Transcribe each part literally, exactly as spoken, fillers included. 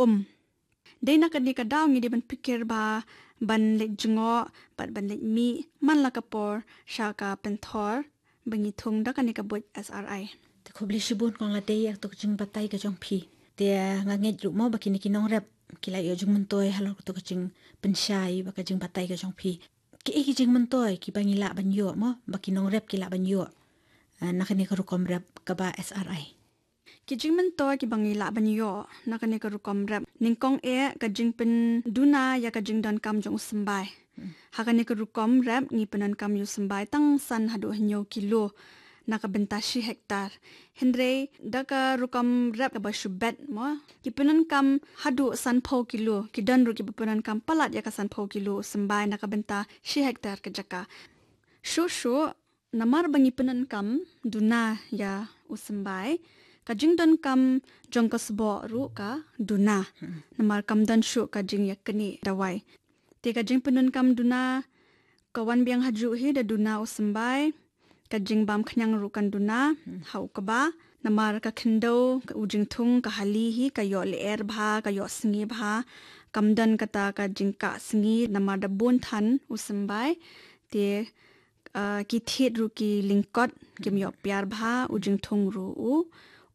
um. Dei na kane ka daw ngi dei ban pyrkhat ba ban leit jngoh bad ban leit mih man la ka por sha ka pynthor ba ngi thung da kane ka buit S R I. Te khublei shibun kong Ladei ïa kato ka jingbatai ka jong phi. Te nga ngeit ruh mo ba kine ki nongrep ki la ïoh jingmyntoi halor kato ka jingpynshai bad ka jingbatai ka jong phi. Ki ei ki jingmyntoi kiba ngi lah ban ïoh mo ba ki nongrep ki lah ban ïoh, eh, na kane ka rukom rep kaba S R I? Ki jingmyntoi kiba ngi lah ban ïoh na kane ka rukom rep, nyngkong eh ka jingpynduna ïa ka jingdonkam jong u symbai. Ha kane ka rukom rep ngi pyndonkam ïa u symbai tang san haduh hynñiew kilo na ka bynta shi hektar. Hynrei da ka rukom rep kaba shu bet mo, ki pyndonkam haduh sanphew kilo, ki don ruh kiba pyndonkam palat ïa ka sanphew kilo u symbai na ka bynta shi hektar ka jaka. Shuh shuh, namar ba ngi pyndonkam duna ïa u symbai, ka jingdonkam jong ka sboh ruh ka duna. Namar kam don shuh ka jingïaknieh dawai. Te ka jingpyndonkam duna ka wan biang hajuh hi da duna u symbai, ka jingbam khñiang ruh kan duna ha u kba. Namar ka khyndew, u jingthung ka hali hi ka ïoh lyer bha, ka ïoh sngi bha. Kam don kata ka jingkah sngi namar da bun than u symbai. Te, ah, ki thied ruh ki lyngkot, kim ïoh piar bha, u jingthung ruh u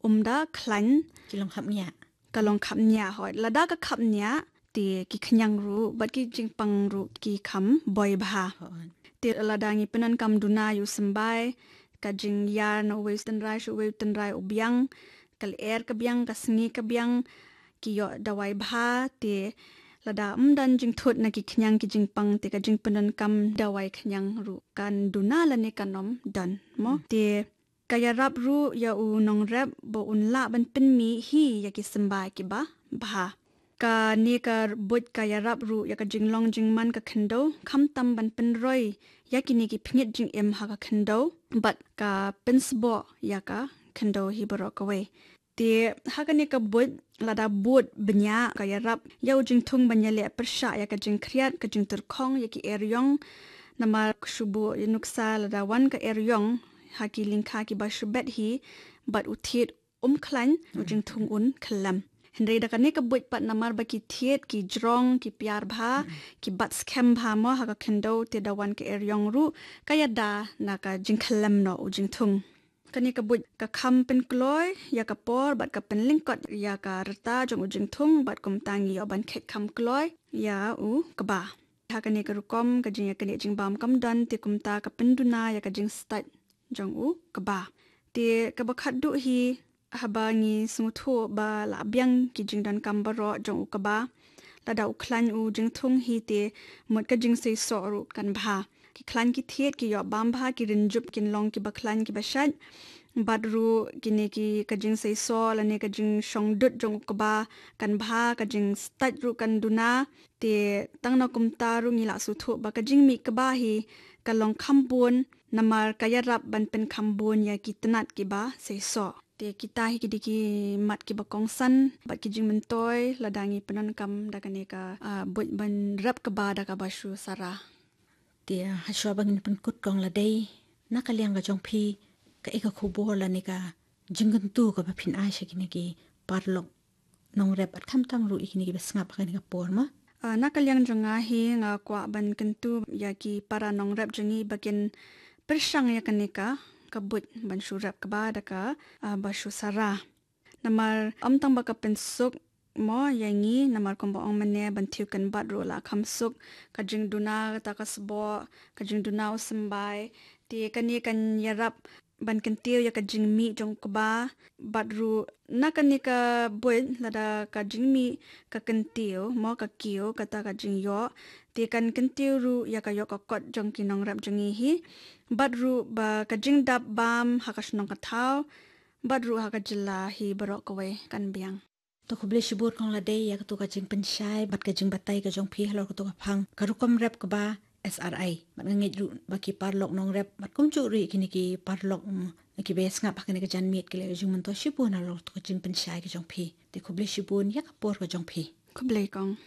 um da khlaiñ. Ki long khapngiah. Ka long khapngiah hoi. Lada ka khapngiah te ki khñiang ruh bad ki jingpang ruh ki kham boi bha. Te lada ngi pyndonkam duna ïa u symbai, ka jingïar na uwei u tynrai sha uwei u tynrai u biang, ka lyer ka biang, ka sngi ka biang, ki ïoh dawai bha. Te lada ym don jingthut na ki khñiang ki jingpang te ka jingpyndonkam dawai khñiang ruh kan duna lane kan ym don mo. Te ka ïarap ruh ïa u nongrep ba un lah ban pynmih hi ïa ki symbai kiba bha. Kane ka buit ka ïarap ruh ïa ka jinglong jingman ka khyndew, khamtam ban pynroi ïa kine ki pynïaid jingim ha ka khyndew bad ka pynsboh ïa ka khyndew hi baroh kawei. Te ha kane ka buit lada bud bniah ka ïarap ïa u jingthung ban ïaleh pyrshah ïa ka jingkhriat, ka jingtyrkhong ïa ki eriong. Namar shu buh ïa nuksa lada wan ka eriong ha ki lyngkha kiba shu bet hi bad u thied um khlaiñ, u jingthung un khyllem. Hynrei da kane ka buit pat namar ba ki thied ki jrong, ki piar bha, ki bat skhem bha mo ha ka khyndew, te da wan ka eriong ruh ka ïada na ka jingkhyllem noh u jingthung. Kane ka buit ka kham pynkloi ïa ka por bad ka pynlyngkot ïa ka rta jong u jingthung bad kumta ngi ïoh ban kheit kham kloi ïa u kba. Ha kane ka rukom ka jingïaknieh jingbam kam don, te kumta ka pynduna ïa ka jingstait jong u kba. Te kaba khatduh hi, haba ngi sngewthuh ba la biang ki jingdonkam baroh jong u kba, lada u khlaiñ u jingthung hi te mut ka jingseisoh ruh kan bha. Ki khlaiñ ki thied ki ïoh bam bha, ki rynjup kin long kiba khlaiñ kiba shait. Bad ruh kine ki ka jingseisoh lane ka jingshong dud jong u kba kan bha, ka jingstait ruh kan duna. Te tang na kumta ruh ngi la sngewthuh ba ka jingmih kba hi ka long kham bun, namar ka ïarap ban pynkham bun ïa ki tnat kiba seisoh. Te kita hi ki dei ki mat kiba kongsan bad ki jingmyntoi lada ngi pyndonkam da kane ka, ah, buit ban rep kba da kaba shu sara. Te, ah, hashwa ba ngin pynkut kong Ladei, na ka liang ka jong phi, kaei ka khubor lane ka jingkyntu kaba phin ai sha kine ki paralok nongrep bad khamtam ruh ïa kine kiba sngap ha kane ka por mo? Ah, na ka liang jong nga hi nga kwah ban kyntu ïa ki para nongrep jong ngi ba kin pyrshang ïa kane ka, ka buit ban shu rep kba da ka, ah, ba shu sara. Namar ym tang ba ka pynsuk mo ïa ngi, namar kumba ong mynne ban thiew kynbat ruh la kham suk, ka jingduna kata ka sboh, ka jingduna u symbai, te kane kan ïarap ban kyntiew ïa ka jingmih jong u kba, bad ruh na kane ka buit lada ka jingmih ka kyntiew mo, ka kiew kata ka jingïoh, te kan kyntiew ruh ïa ka ïoh ka kot jong ki nongrep jong ngi hi, bad ruh ba ka jingdap bam ha ka shnong ka thaw, bad ruh ha ka jylla hi baroh kawei kan biang. To khublei shibun kong Ladei ïa kato ka jingpynshai bad ka jingbatai ka jong phi halor kato ka phang ka rukom rep kba S R I. Bad nga ngeit ruh ba ki paralok nongrep bad kumjuh ruh ïa kine ki paralok, mm, kiba sngap ha kane ka janmiet ki la ïoh jingmyntoi shibun halor kato ka jingpynshai ka jong phi. Te khublei shibun ïa ka por ka jong phi. Khublei kong.